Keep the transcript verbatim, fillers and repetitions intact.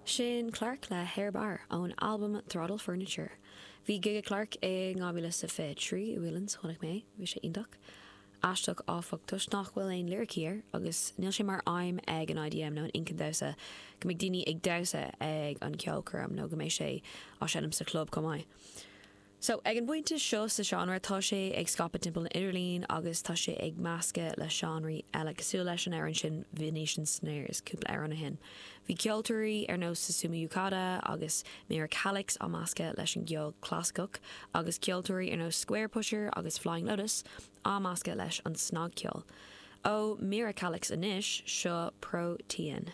Sin Clark le Hair Bar ón albam Throttle Furniture. Bhí gig ag Clark i dhá mhíle is fiche trí i Whelan's chonaic mé, bhí sé iontach. Aisteach áfach toisc nach bhfuil aon liricí air agus níl sé mar aidhm ag an IDM nó an inchinn damhsa go mbeidh daoine ag damhsa ag an ceolchoirm nó go mbeidh sé á seinm sa chlub chomh maith. So ag an bpointe seo sa seánra tá sé ag scaipeadh timpeall an idirlín agus tá sé ag meascadh le seánraí eile cosúil leis an amhrán sin Venetian Snares cúpla amhrán ó shin. Bhí ceoltóirí ar nós Susumu Yukata agus Mira Calix á meascadh leis an gceol clasaiceach agus ceoltóirí ar nós Squarepusher agus Flying Lotus á meascadh leis an snagcheol. Ó Mira Calix anois seo Protean.